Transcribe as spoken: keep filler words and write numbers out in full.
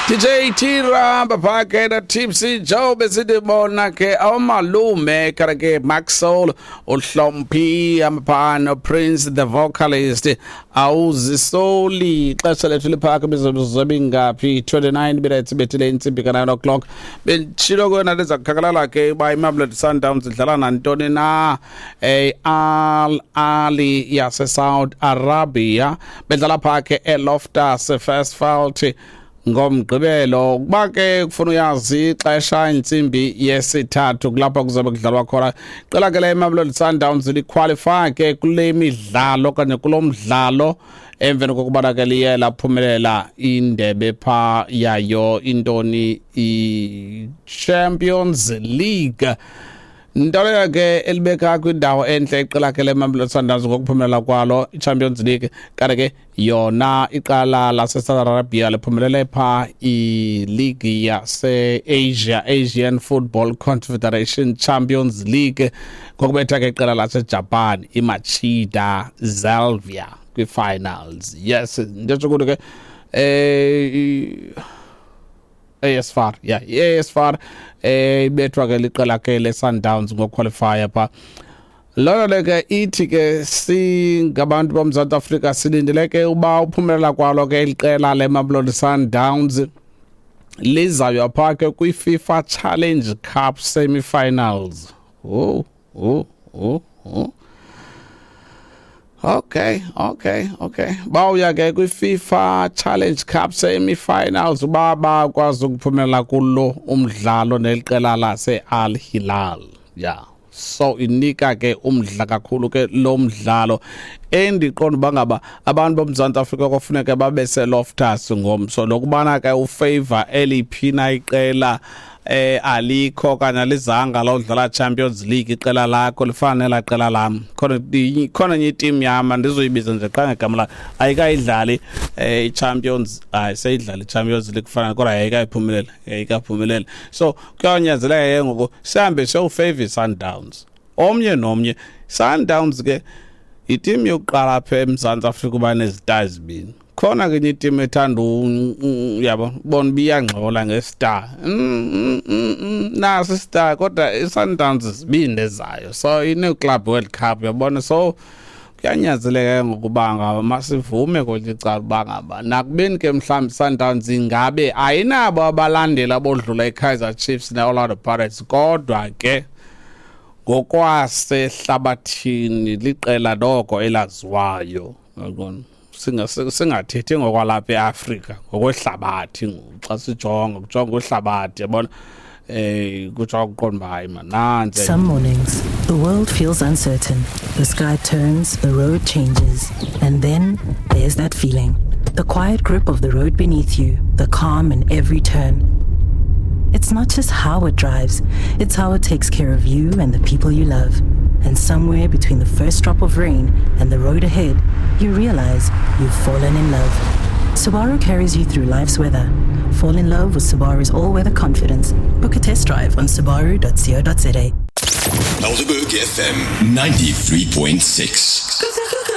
D J Tira baphake na Tipsy Joe, besithi bona ke omalume kana ke Maxwell uHlomphi amaphano Prince the vocalist. Awuzisoli, ixesha lethu liphaka mizuzu mingaphi? twenty-nine minutes bethile intsimbi ka nine o'clock. Benditshilo kona liza kukhangelala ke uba iMamelodi Sundowns idlala nantoni na, eh Al Ahly yase Saudi Arabia, bedlala pha ke eLoftus Versfeld ngoMgqibelo. Kuba ke kufuna uyazi ixesha, intsimbi yesithathu, kulapho kuzobe kudlalwa khona. Qela ke le Mamelodi Sundowns liqualify ke kule midlalo okanye kulo mdlalo emveni kokubana ke liye laphumelela indebe pha yayo, intoni, i-Champions League, nto leyo ke elibeka kwindawo enhle iqela ke leMamelodi Sundowns ngokuphumelela kwalo i-Champions League. Kanti ke yona iqala lase-Saudi Arabia liphumelele pha i-league yase-Asia, Asian Football Confederation Champions League, ngokubetha ke iqela laseJapan iMachida Zelvia kwi-finals. Yes, nditsho ukuthi ke eh A S F A R, yeah, i-A S F A R eh ibethwa ke liqela ke le-Sundowns ngoqualify pha. Loo nto ke ithi ke singabantu boMzantsi Afrika silindele ke uba uphumelela kwalo ke iqela leMamelodi Sundowns lizawuya pha ke kwi-FIFA Challenge Cup semi-finals. Oh oh oh oh Okay, okay, okay. Bawuya ke kwi-FIFA Challenge Cup semi-finals uba bakwazi ukuphumelela kulo umdlalo neliqela lase Al Hilal. Yeah. So inika ke umdla kakhulu ke lo mdlalo, endiqonda uba ngaba abantu boMzantsi Afrika kofuneka babe seLoftus ngomso, lokubana ke ufavor eliphi na iqela eh alikho kanye alizanga lodlala Champions League. Iqela lakho lifana nelaa qela lam, khona khona enye iteam yam, andizoyibiza nje qha ngegama layo, ayikayidlali eh i-Champions, hayi, seyidlala i-Champions League kufana, kodwa ayikayiphumelela, ayikaphumelela. So kuyanyanzeleka ke ngoku sihambe siyowufavor i-Sundowns omnye nomnye. Sundowns ke iteam yokuqala apha eMzantsi Afrika uba nezistar ezibini. Khona ke enye iteam ethanda, uyabo, bona uba iyangxola ngestar, mm, mm, mm, naso istar, kodwa i-Sundowns zibini ezayo, so ine-Club World Cup, uyabona. So kuyanyanzeleka ke ngokuba ngaba masivume kwelinye icala uba ngaba nakubeni ke mhlawumbi Sundowns ingabe ayinabo abalandeli abodlula i-Kaizer Chiefs ne-Orlando Pirates, kodwa ke ngokwasehlabathini liqela noko elaziwayo, uyabona. Singathethi ngokwalapha eAfrika, ngokwehlabathi ngoku xa sijonga, kujonga uhlabathi, yabona, eh kutsho ukuqonda uba hayi man, nantsi. Some mornings, the world feels uncertain. The sky turns, the road changes, and then there's that feeling. The quiet grip of the road beneath you, the calm in every turn. It's not just how it drives, it's how it takes care of you and the people you love. And somewhere between the first drop of rain and the road ahead, you realize you've fallen in love. Subaru carries you through life's weather. Fall in love with Subaru's all-weather confidence. Book a test drive on subaru dot co dot za. Helderberg F M ninety-three point six.